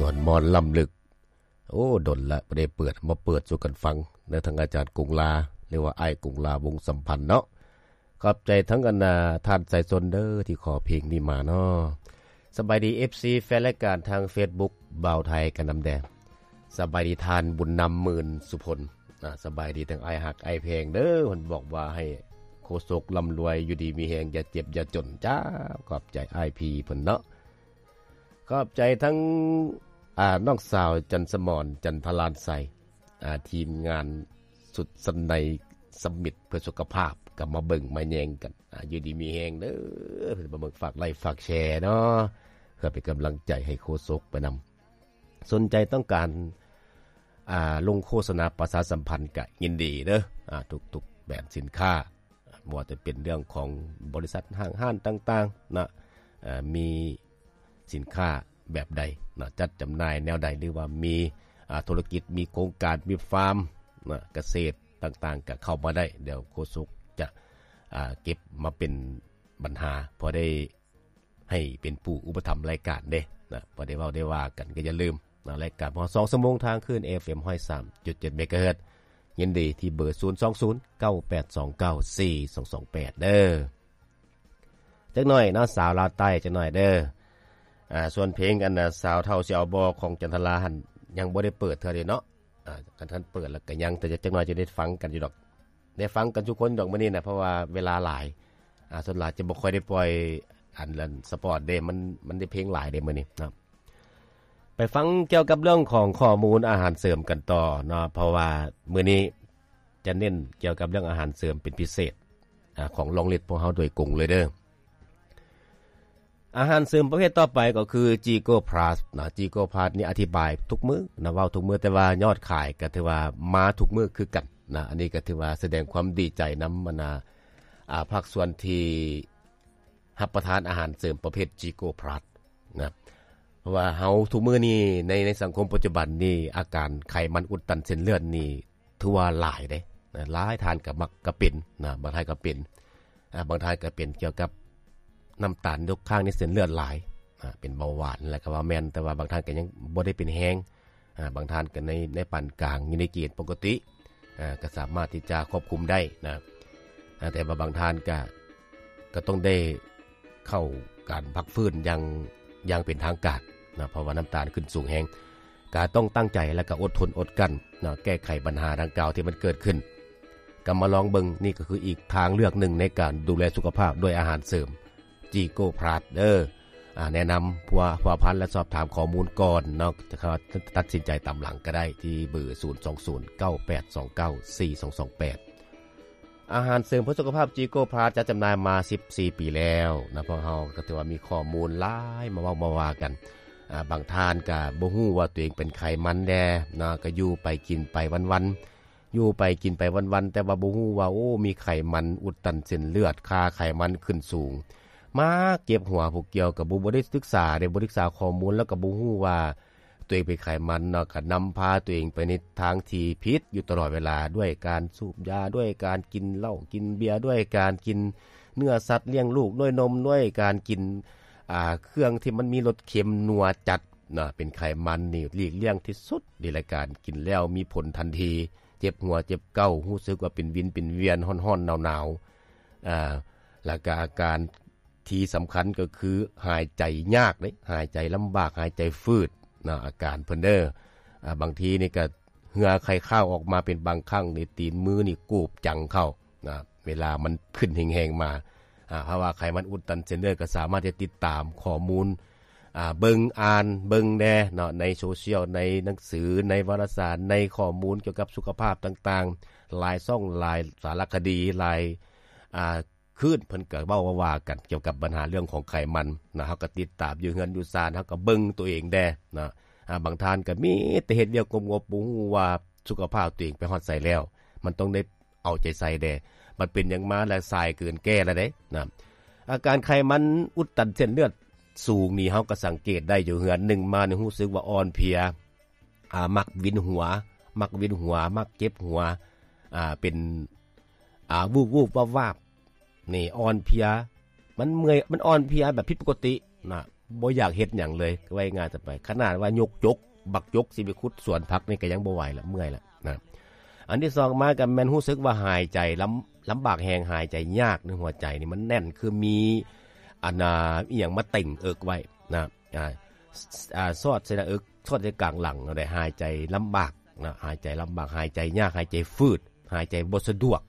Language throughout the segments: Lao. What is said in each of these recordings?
ມ່ວນມ່ອນລ້ຳເລິກ. ໂອ້ ດົນລະບໍ່ໄດ້ເປີດ ມາເປີດສູ່ກັນຟັງເດີ ທາງອາຈານກົງລາ ຫຼືວ່າອ້າຍກົງລາ ວົງສຳພັນເນາະ. ຂອບໃຈທັງອັນນາ ທ່ານສາຍຊົນເດີ ທີ່ຂໍເພງນີ້ມາເນາະ. ສະບາຍດີ ເອັຟຊີ ແຟນລາຍການທາງເຟສບຸກບ່າວໄທກັນນຳແດ່. ສະບາຍດີທ່ານບຸນນຳ ໝື່ນສຸພົນ. ອາ ສະບາຍດີທັງອ້າຍຮັກອ້າຍແພງເດີ. ເພິ່ນບອກວ່າໃຫ້ໂຄສົກລ່ຳລວຍ ຢູ່ດີມີແຮງ ຢ່າເຈັບຢ່າຈົນ. ຈ້າ ຂອບໃຈອ້າຍພີເພິ່ນເນາະ. ຂອບໃຈທັງ ອາ ນ້ອງສາວຈັນສະໝອນ ຈັນທະລານໄຊ, ອາ ທີມງານຊຸດຊັ້ນໃນສຳມິດເພື່ອສຸຂະພາບ ກໍມາເບິ່ງມາແຍງກັນ. ອາ ຢູ່ດີມີແຮງເດີ ເພິ່ນມາເບິ່ງ ຝາກໄລ້ຝາກແຊເນາະ ເພື່ອເປັນກຳລັງໃຈໃຫ້ໂຄສົກໄປນຳ. ສົນໃຈຕ້ອງການ ອາ ລົງໂຄສະນາປະຊາສຳພັນ ກະຍິນດີເດີ ອາ ທຸກໆແບຣນສິນຄ້າ. ບໍ່ວ່າຈະເປັນເລື່ອງຂອງບໍລິສັດຫ້າງຮ້ານຕ່າງໆນະ ເອີ ມີສິນຄ້າແບບໃດນະ ຈັດຈຳໜ່າຍແນວໃດ ຫຼືວ່າມີ ອາ ທຸລະກິດ ມີໂຄງການ ມີຟາມນະ ກະເສດຕ່າງໆ ກະເຂົ້າມາໄດ້. ດຽວໂຄສົກຈະ ອາ ເກັບມາເປັນບັນຫາ ພໍໄດ້ ໃຫ້ເປັນຜູ້ອຸປະຖຳລາຍການເດ້ນະ. ພໍໄດ້ເວົ້າໄດ້ວ່າກັນ ກໍຢ່າລືມນະ ລາຍການຂອງເຮົາສອງຊົ່ວໂມງທາງຄື້ນ ເອັຟເອັມ ຮ້ອຍສາມຈຸດເຈັດ ເມກາເຮີດ. ຍິນດີທີ່ເບີ ສູນສອງສູນ ເກົ້າແປດສອງເກົ້າ ສີ່ສອງສອງແປດ ເດີ. ຈັກໜ້ອຍເນາະ ສາວລາວໃຕ້ ຈັກໜ້ອຍເດີ. ອາ ສ່ວນເພງອັນນະ ສາວເຖົ້າຊິເອົາບໍ່ ຂອງຈັນທະລາຫັ້ນ ຍັງບໍ່ໄດ້ເປີດເທື່ອເດເນາະ. ອາ ຄັນ ຄັນເປີດແລ້ວກໍຍັງ ແຕ່ຈັກໜ້ອຍຈະໄດ້ຟັງກັນຢູ່ດອກ ໄດ້ຟັງກັນທຸກຄົນດອກມື້ນີ້ນະ ເພາະວ່າເວລາຫຼາຍ. ອາ ສ່ວນຫຼາຍຈະບໍ່ຄ່ອຍໄດ້ປ່ອຍອັນ ອັນສະປອດເດ້ ມັນ ມັນໄດ້ເພງຫຼາຍເດ້ມື້ນີ້ເນາະ. ໄປຟັງກ່ຽວກັບເລື່ອງຂອງຂໍ້ມູນອາຫານເສີມກັນຕໍ່ເນາະ ເພາະວ່າມື້ນີ້ຈະເນັ້ນກ່ຽວກັບເລື່ອງອາຫານເສີມເປັນພິເສດ ອາ ຂອງລອງລິດພວກເຮົາໂດຍກົງເລີຍເດີ. ອາຫານເສີມປະເພດຕໍ່ໄປກໍຄື ຈີໂກພລັສ ນະ. ຈີໂກພລັສນີ້ອະທິບາຍທຸກມື້ນະ ເວົ້າທຸກມື້ ແຕ່ວ່າຍອດຂາຍກໍຖືວ່າມາທຸກມື້ຄືກັນນະ. ອັນນີ້ກໍຖືວ່າສະແດງຄວາມດີໃຈນຳ ອັນນາ ອາ ພາກສ່ວນທີ່ຮັບປະທານອາຫານເສີມປະເພດຈີໂກພລັສນະ. ເພາະວ່າເຮົາທຸກມື້ນີ້ ໃນ ໃນສັງຄົມປັດຈຸບັນນີ້ ອາການໄຂມັນອຸດຕັນເສັ້ນເລືອດນີ້ ຖືວ່າຫຼາຍເດ້ນະ. ຫຼາຍທ່ານກໍມັກ ກໍເປັນນະ ບາງທ່ານກໍເປັນ ອາ ບາງທ່ານກໍເປັນກ່ຽວກັບນ້ຳຕານຕົກຄ້າງໃນເສັ້ນເລືອດຫຼາຍ ອາ ເປັນເບົາຫວານແລ້ວກໍວ່າແມ່ນ, ແຕ່ວ່າບາງທ່ານກໍຍັງບໍ່ໄດ້ເປັນແຮງ, ອາ ບາງທ່ານກໍໃນ ໃນປານກາງ ຢູ່ໃນເກນປົກກະຕິ ອາ ກໍສາມາດທີ່ຈະຄວບຄຸມໄດ້ນະ. ອາ ແຕ່ວ່າບາງທ່ານກໍ ກໍຕ້ອງໄດ້ເຂົ້າການພັກຟື້ນຢ່າງ ຢ່າງເປັນທາງການນະ ເພາະວ່ານ້ຳຕານຂຶ້ນສູງແຮງ. ກໍຕ້ອງຕັ້ງໃຈ ແລະ ກໍອົດທົນອົດກັ້ນເນາະ ແກ້ໄຂບັນຫາດັ່ງກ່າວທີ່ມັນເກີດຂຶ້ນ. ກໍມາລອງເບິ່ງ, ນີ້ກໍຄືອີກທາງເລືອກໜຶ່ງໃນການດູແລສຸຂະພາບດ້ວຍອາຫານເສີມ ຈີໂກພລັສເດີ. ອາ ແນະນຳພົວພັນ ແລະ ສອບຖາມຂໍ້ມູນກ່ອນເນາະ, ຈະຕັດສິນໃຈຕາມຫຼັງກໍໄດ້ ທີ່ເບີ ສູນສອງສູນ ເກົ້າແປດສອງເກົ້າ ສີ່ສອງສອງແປດ. ອາຫານເສີມເພື່ອສຸຂະພາບ ຈີໂກພລັສ ຈັດຈຳໜ່າຍມາສິບສີ່ປີແລ້ວນະ. ພວກເຮົາກໍຖືວ່າມີຂໍ້ມູນຫຼາຍມາເວົ້າມາວ່າກັນ. ອາ ບາງທ່ານກໍບໍ່ຮູ້ວ່າຕົວເອງເປັນໄຂມັນແດ່ນະ, ກໍຢູ່ໄປກິນໄປວັນໆ, ຢູ່ໄປກິນໄປວັນໆ ແຕ່ວ່າບໍ່ຮູ້ວ່າ ໂອ້ ມີໄຂມັນອຸດຕັນເສັ້ນເລືອດ, ຄ່າໄຂມັນຂຶ້ນສູງ. ມາເຈັບຫົວ ຜູ້ກ່ຽວກໍບໍ່ ບໍ່ໄດ້ສຶກສາເດ້, ບໍ່ສຶກສາຂໍ້ມູນ ແລ້ວກໍບໍ່ຮູ້ວ່າ ຕົວເອງເປັນໄຂມັນເນາະ ກໍນຳພາຕົວເອງໄປໃນທາງທີ່ຜິດຢູ່ຕະຫຼອດເວລາ ດ້ວຍການສູບຢາ, ດ້ວຍການກິນເຫຼົ້າກິນເບຍ, ດ້ວຍການກິນເນື້ອສັດລ້ຽງລູກ, ດ້ວຍນົມ, ດ້ວຍການກິນ ອ່າ ເຄື່ອງທີ່ມັນມີລົດເຄັມນົວຈັດເນາະ. ເປັນໄຂມັນນີ້ຫຼີກລ່ຽງທີ່ສຸດເດ ລະການກິນແລ້ວມີຜົນທັນທີ ເຈັບຫົວເຈັບເກົ້າ, ຮູ້ສຶກວ່າເປັນວິນເປັນວຽນ, ຮ້ອນໆ ໜາວໆ ອ່າ ແລ້ວກໍອາການ ທີ່ສຳຄັນກໍຄືຫາຍໃຈຍາກເດ້, ຫາຍໃຈລຳບາກ, ຫາຍໃຈຝືດນະ ອາການເພິ່ນເດີ. ອາ ບາງທີນີ້ກໍເຫື່ອໄຄຄາວອອກມາເປັນບາງຄັ້ງນີ້, ຕີນມືນີ້ກູບຈັງເຂົ້ານະ ເວລາມັນຂຶ້ນແຮງໆມາ. ອາ ເພາະວ່າໄຂມັນອຸດຕັນເສັ້ນເລືອດ ກໍສາມາດທີ່ຈະຕິດຕາມຂໍ້ມູນ ອາ ເບິ່ງອ່ານເບິ່ງແດ່ເນາະ ໃນໂຊຊຽວ, ໃນໜັງສື, ໃນວາລະສານ, ໃນຂໍ້ມູນກ່ຽວກັບສຸຂະພາບຕ່າງໆ, ຫຼາຍຊ່ອງ, ຫຼາຍສາລະຄະດີ, ຫຼາຍ ອາ ຄືນເພິ່ນກໍເວົ້າວ່າກັນກ່ຽວກັບບັນຫາເລື່ອງຂອງໄຂມັນນະ. ເຮົາກໍຕິດຕາມຢູ່ເຮືອນຢູ່ຊານ, ເຮົາກໍເບິ່ງຕົວເອງແດ່ນະ. ອາ ບາງທ່ານກໍມີແຕ່ເຮັດວຽກງົບໆ, ບໍ່ຮູ້ວ່າສຸຂະພາບຕົວເອງໄປຮອດໃສແລ້ວ. ມັນຕ້ອງໄດ້ເອົາໃຈໃສ່ແດ່. ມັນເປັນຫຍັງມາແລ້ວ ສາຍເກີນແກ້ແລ້ວເດ້ນະ. ອາການໄຂມັນອຸດຕັນເສັ້ນເລືອດສູງນີ້ ເຮົາກໍສັງເກດໄດ້ຢູ່ເຮືອນ, ໜຶ່ງມານີ້ຮູ້ສຶກວ່າອ່ອນເພຍ, ອາ ມັກວິນຫົວ, ມັກວິນຫົວ, ມັກເຈັບຫົວ, ອາ ເປັນ ອາ ວູບໆວາບໆ ນີ້ອ່ອນເພຍ, ມັນເມື່ອຍ, ມັນອ່ອນເພຍແບບຜິດປົກກະຕິນະ. ບໍ່ຢາກເຮັດຫຍັງເລີຍ ວ່າງ່າຍໆ ໄປ ຂະໜາດວ່າຍົກຈົກ ບັກຈົກຊິໄປຂຸດສວນຜັກນີ້ກໍຍັງບໍ່ໄຫວລະ ເມື່ອຍລະນະ. ອັນທີສອງມາກໍແມ່ນຮູ້ສຶກວ່າຫາຍໃຈລຳ ລຳບາກແຮງ ຫາຍໃຈຍາກ ໃນຫົວໃຈນີ້ມັນແໜ້ນ ຄືມີອັນນ່າ ອີ່ຫຍັງມາເຕັງເອິກໄວ້ນະ ອ່າ ສ- ອ່າ ສອດໃສ່ໜ້າເອິກ ສອດໃສ່ກາງຫຼັງ ແນວໃດ ຫາຍໃຈລຳບາກນະ ຫາຍໃຈລຳບາກ ຫາຍໃຈຍາກ ຫາຍໃຈຝືດ ຫາຍໃຈບໍ່ສະດວກ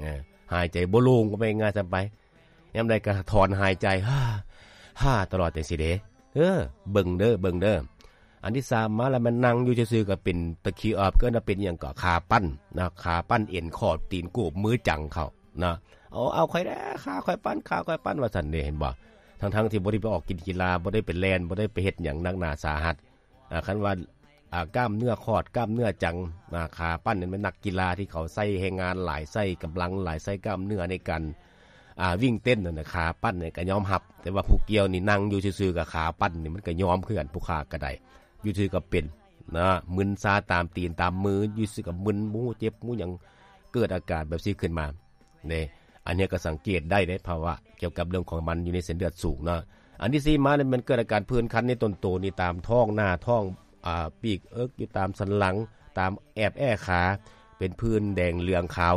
ເອີ ຫາຍໃຈບໍ່ໂລ່ງ ເວົ້າງ່າຍໆ ຊະໄປ. ຍາມໃດກໍຖອນຫາຍໃຈ ຮ່າ ຮ່າ ຕະຫຼອດຈັ່ງຊີ້ເດ້. ເອີ ເບິ່ງເດີ ເບິ່ງເດີ. ອັນທີສາມມາແລ້ວ ແມ່ນນັ່ງຢູ່ຊື່ໆ ກໍເປັນຕະຄີອອບ ເອີ້ນວ່າເປັນຫຍັງເກາະ ຂາປັ້ນນະ ຂາປັ້ນ ເອັນຂອບ ຕີນໂກບ ມືຈັງເຂົານະ. ເອົາ ເອົາຂ້ອຍແດ່ ຂາຂ້ອຍປັ້ນ ຂາຂ້ອຍປັ້ນ ວ່າຊັ້ນເດ້ ເຫັນບໍ່? ທັງໆ ທີ່ບໍ່ໄດ້ໄປອອກກິນກິລາ ບໍ່ໄດ້ໄປແລ່ນ ບໍ່ໄດ້ໄປເຮັດຫຍັງໜັກໜາສາຫັດ. ອ່າ ຄັນວ່າ ອ່າ ກ້າມເນື້ອຂອດ ກ້າມເນື້ອຈັງ ອ່າ ຂາປັ້ນນີ້ແມ່ນນັກກິລາທີ່ເຂົາໃຊ້ແຮງງານຫຼາຍ ໃຊ້ກຳລັງຫຼາຍ ໃຊ້ກ້າມເນື້ອໃນການ ອ່າ ວິ່ງເຕັ້ນນັ້ນນະ ຂາປັ້ນນີ້ກໍຍອມຮັບ. ແຕ່ວ່າຜູ້ກ່ຽວນີ້ນັ່ງຢູ່ຊື່ໆ ກໍຂາປັ້ນນີ້ມັນກໍຍອມຄືກັນ ຜູ້ຂ້າກໍໄດ້ ຢູ່ຊື່ກໍເປັນນະ ມຶນຊາຕາມຕີນຕາມມື ຢູ່ຊື່ກໍມຶນ ບໍ່ຮູ້ເຈັບບໍ່ຫຍັງ ເກີດອາການແບບຊີ້ຂຶ້ນມາ. ເດ້ ອັນນີ້ກໍສັງເກດໄດ້ເດ້ ພາວະກ່ຽວກັບເລື່ອງຂອງມັນຢູ່ໃນເສັ້ນເລືອດສູງເນາະ. ອັນທີສີ່ມານີ້ແມ່ນເກີດອາການຜື່ນຄັນໃນຕົ້ນໂຕນີ້ ຕາມທ້ອງໜ້າທ້ອງ ອ່າ ປີກເອິກ ຢູ່ຕາມສັນຫຼັງ ຕາມແອບແອ້ຂາ ເປັນຜື່ນແດງເຫຼືອງຂາວ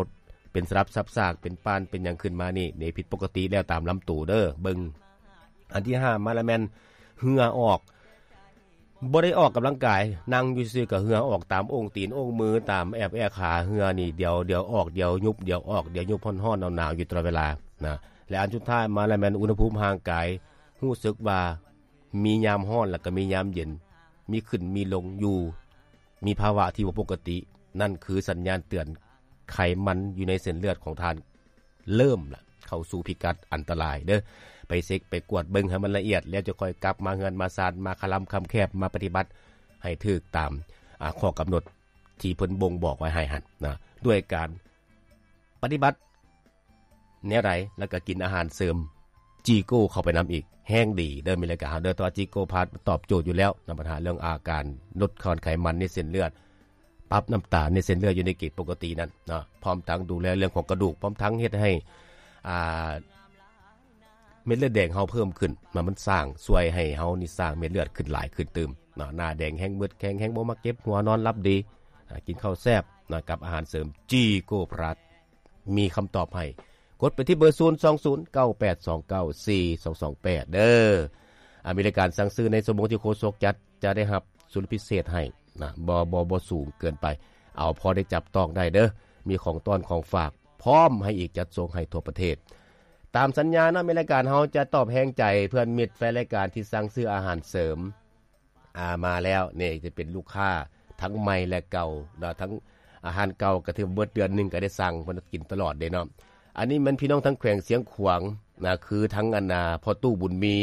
ເປັນສະຫຼັບສັບສາກ ເປັນປ້ານ ເປັນຫຍັງຂຶ້ນມານີ້ ນີ້ຜິດປົກກະຕິແລ້ວຕາມລຳໂຕເດີ ເບິ່ງ. ອັນທີຫ້າມາແລ້ວແມ່ນເຫື່ອອອກ ບໍ່ໄດ້ອອກກຳລັງກາຍ ນັ່ງຢູ່ຊື່ໆ ກໍເຫື່ອອອກຕາມໂອ່ງຕີນໂອ່ງມື ຕາມແອບແອ້ຂາ ເຫື່ອນີ້ດຽວ ດຽວອອກ ດຽວຍຸບ ດຽວອອກ ດຽວຍຸບ ຮ້ອນໆ ໜາວໆ ຢູ່ຕະຫຼອດເວລານະ. ແລະ ອັນສຸດທ້າຍມາແລ້ວແມ່ນອຸນຫະພູມຮ່າງກາຍ ຮູ້ສຶກວ່າມີຍາມຮ້ອນ ແລ້ວກໍມີຍາມເຢັນ ມີຂຶ້ນມີລົງຢູ່ ມີພາວະທີ່ບໍ່ປົກກະຕິ ນັ້ນຄືສັນຍານເຕືອນ ໄຂມັນຢູ່ໃນເສັ້ນເລືອດຂອງທ່ານ ເລີ່ມລະເຂົ້າສູ່ພິກັດອັນຕະລາຍເດີ້. ໄປເຊັກໄປກວດເບິ່ງໃຫ້ມັນລະອຽດ ແລ້ວຈະຄ່ອຍກັບມາເຮືອນມາຊານ ມາຄະລຳຄຳແຄບ ມາປະຕິບັດໃຫ້ຖືກຕາມ ອາ ຂໍ້ກຳນົດທີ່ເພິ່ນບົ່ງບອກໄວ້ໃຫ້ຫັ້ນນະ ດ້ວຍການປະຕິບັດແນວໃດ ແລ້ວກໍກິນອາຫານເສີມຈີໂກ້ເຂົ້າໄປນຳອີກ ແຮງດີເດີ້ ມີລາຍການເຮົາເດີ້. ແຕ່ວ່າຈີໂກ້ພລັສຕອບໂຈດຢູ່ແລ້ວນຳບັນຫາເລື່ອງອາການລົດຄອນໄຂມັນໃນເສັ້ນເລືອດ ປັບນ້ຳຕານໃນເສັ້ນເລືອດຢູ່ໃນເກນປົກກະຕິນັ້ນເນາະ ພ້ອມທັງດູແລເລື່ອງຂອງກະດູກ ພ້ອມທັງເຮັດໃຫ້ ອ່າ ເມັດເລືອດແດງເຮົາເພີ່ມຂຶ້ນ ມັນ ມັນສ້າງຊ່ວຍໃຫ້ເຮົານີ້ສ້າງເມັດເລືອດຂຶ້ນຫຼາຍຂຶ້ນຕື່ມເນາະ ໜ້າແດງ ແຮງເໝິດແຂງ ແຮງບໍ່ມັກເຈັບຫົວ ນອນຫຼັບດີ ອາ ກິນເຂົ້າແຊບເນາະ ກັບອາຫານເສີມຈີໂກພລັສ ມີຄຳຕອບໃຫ້ ກົດໄປທີ່ເບີ ສູນສອງສູນ ເກົ້າແປດສອງເກົ້າ ສີ່ສອງສອງແປດ ເດີ້. ອາ ມີລາຍການສັ່ງຊື້ໃນຊົ່ວໂມງທີ່ໂຄສົກຈັດ ຈະໄດ້ຮັບ ສ່ວນພິເສດໃຫ້ນະ ບໍ່ ບໍ່ ບໍ່ສູງເກີນໄປ ເອົາພໍໄດ້ຈັບຕ້ອງໄດ້ເດີ້ ມີຂອງຕ້ອນຂອງຝາກ ພ້ອມໃຫ້ອີກ ຈັດສົ່ງໃຫ້ທົ່ວປະເທດ. ຕາມສັນຍາເນາະ ມີລາຍການເຮົາຈະຕອບແຮງໃຈເພື່ອນມິດແຟນລາຍການທີ່ສັ່ງຊື້ອາຫານເສີມ ອາ ມາແລ້ວ ນີ້ຈະເປັນລູກຄ້າທັງໃໝ່ແລະເກົ່າເນາະ ທັງອາຫານເກົ່າກໍຖືວ່າເບິດເດືອນໜຶ່ງກໍໄດ້ສັ່ງ ເພິ່ນກິນຕະຫຼອດເດ້ເນາະ. ອັນນີ້ແມ່ນພີ່ນ້ອງທາງແຂວງຊຽງຂວາງນະ ຄືທັງອັນນາ ພໍ່ຕູ້ບຸນມີ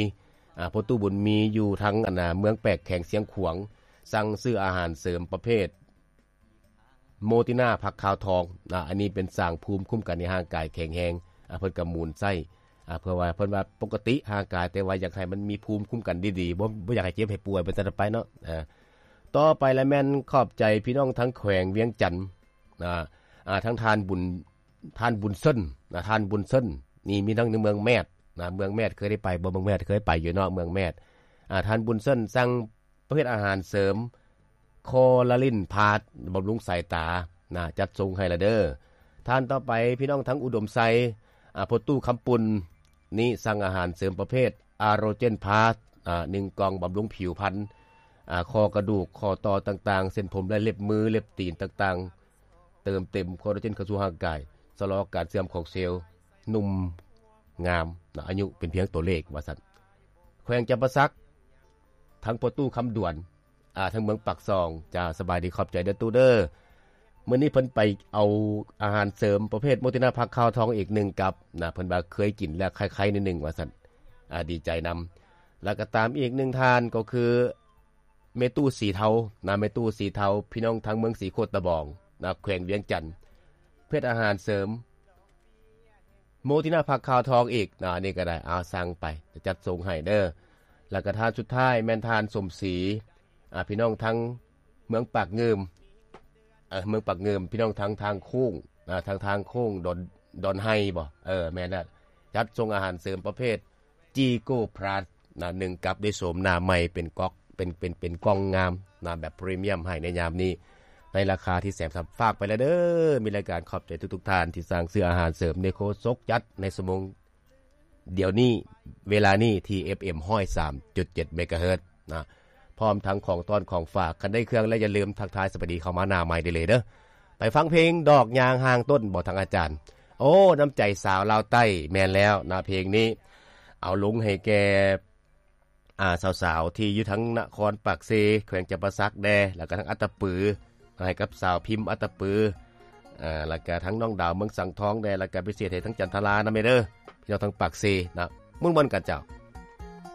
ອາ ພໍ່ຕູ້ບຸນມີຢູ່ທາງອັນນາ ເມືອງແປກ ແຂວງຊຽງຂວາງ ສັ່ງຊື້ອາຫານເສີມປະເພດໂມຕິນາຜັກຂາວທອງນະ ອັນນີ້ເປັນສ້າງພູມຄຸ້ມກັນໃຫ້ຮ່າງກາຍແຂງແຮງ ອາ ເພິ່ນກໍໝູນໃຊ້ ອາ ເພື່ອວ່າ ເພິ່ນວ່າປົກກະຕິຮ່າງກາຍ ແຕ່ວ່າຢາກໃຫ້ມັນມີພູມຄຸ້ມກັນດີໆ ບໍ່ ບໍ່ຢາກໃຫ້ເຈັບໃຫ້ປ່ວຍ ເປັນຕົ້ນໄປເນາະ. ອາ ຕໍ່ໄປລະແມ່ນຂອບໃຈພີ່ນ້ອງທາງແຂວງວຽງຈັນນະ ອາ ທາງທ່ານບຸນ ທ່ານບຸນເຊີນນະ ທ່ານບຸນເຊີນ ນີ້ມີທັງໃນເມືອງແມດນະ ເມືອງແມດເຄີຍໄດ້ໄປບໍ່? ເມືອງແມດເຄີຍໄປຢູ່ເນາະ ເມືອງແມດ. ອາ ທ່ານບຸນເຊີນສັ່ງປະເພດອາຫານເສີມຄໍລາລິນພລັສ ບຳລຸງສາຍຕານະ ຈັດສົ່ງໃຫ້ລະເດີ້. ທ່ານຕໍ່ໄປ ພີ່ນ້ອງທາງອຸດົມໄຊ ອາ ພໍ່ຕູ້ຄຳປຸນ ນີ້ສັ່ງອາຫານເສີມປະເພດອາໂຣເຈນພລັສ ອາ ໜຶ່ງກ່ອງ ບຳລຸງຜິວພັນ ອາ ຂໍ້ກະດູກ ຂໍ້ຕໍ່ຕ່າງໆ ເສັ້ນຜົມ ແລະ ເລັບມື ເລັບຕີນຕ່າງໆ ເຕີມເຕັມຄໍລາເຈນເຂົ້າສູ່ຮ່າງກາຍ ຊະລໍການເສື່ອມຂອງເຊວ ໜຸ່ມງາມນະ ອາຍຸເປັນພຽງຕົວເລກ ວ່າຊັ້ນ. ແຂວງຈຳປາສັກ ທາງພໍ່ຕູ້ຄຳດວນ ອາ ທາງເມືອງປາກຊ່ອງ ເຈົ້າ ສະບາຍດີ ຂອບໃຈເດີ້ຕູ້ເດີ້. ມື້ນີ້ເພິ່ນໄປເອົາອາຫານເສີມປະເພດໂມຕິນາຜັກຂາວທອງອີກໜຶ່ງກັບນະ ເພິ່ນວ່າເຄີຍກິນແລ້ວ ໄຄໆ ໜ້ອຍໜຶ່ງ ວ່າຊັ້ນ ອາ ດີໃຈນຳ. ແລ້ວກໍຕາມອີກໜຶ່ງທ່ານ ກໍຄື ແມ່ຕູ້ສີເທົານະ ແມ່ຕູ້ສີເທົາ ພີ່ນ້ອງທາງເມືອງສີໂຄດຕະບອງນະ ແຂວງວຽງຈັນ ເພດອາຫານເສີມໂມຕິນາຜັກຂາວທອງອີກນະ ອັນນີ້ກໍໄດ້ ເອົາ ສັ່ງໄປ ຈະຈັດສົ່ງໃຫ້ເດີ້. ແລ້ວກໍທ່ານສຸດທ້າຍແມ່ນທ່ານສົມສີ ອາ ພີ່ນ້ອງທາງເມືອງປາກງື່ມ ເອີ ເມືອງປາກງື່ມ ພີ່ນ້ອງທາງທາງໂຄ້ງນະ ທາງທາງໂຄ້ງດອນ ດອນໄຮບໍ່? ເອີ ແມ່ນແລ້ວ ຈັດສົ່ງອາຫານເສີມປະເພດ ຈີໂກພລັສ ນະ ໜຶ່ງກັບດ້ວຍໂສມໜ້າໃໝ່ ເປັນກ໋ອກ ເປັນ ເປັນ ເປັນກ່ອງງາມນະ ແບບພຣີມຽມໃຫ້ໃນຍາມນີ້ ໃນລາຄາທີ່ແສນສາມ ຝາກໄປແລ້ວເດີ. ມີລາຍການຂອບໃຈທຸກໆທ່ານທີ່ສັ່ງຊື້ອາຫານເສີມ Necozok ຈັດໃນຊົ່ວໂມງດຽວນີ້ ເວລານີ້ທີ່ ເອັຟເອັມ ຮ້ອຍສາມຈຸດເຈັດ ເມກາເຮີດນະ ພ້ອມທັງຂອງຕ້ອນຂອງຝາກ. ຄັນໄດ້ເຄື່ອງແລ້ວຢ່າລືມທັກທາຍສະບາຍດີເຂົ້າມາໜ້າໄມໄດ້ເລີຍເດີ. ໄປຟັງເພງດອກຍາງຫ່າງຕົ້ນບໍ່ ທາງອາຈານ ໂອ້ ນ້ຳໃຈສາວລາວໃຕ້. ແມ່ນແລ້ວນະ ເພງນີ້ເອົາລົງໃຫ້ແກ່ ອ່າ ສາວໆທີ່ຢູ່ທາງນະຄອນປາກເຊ ແຂວງຈຳປາສັກແດ່ ແລ້ວກະທັງອັດຕະປື ໃຫ້ກັບສາວພິມອັດຕະປື ອ່າ ແລ້ວກະທັງນ້ອງດາວເມືອງສັງທອງແດ່ ແລ້ວກະພິເສດໃຫ້ທັງຈັນທະລານຳແດ່ເດີ ພີ່ນ້ອງທາງປາກເຊນະ ມ່ວນໆກັນເຈົ້າ.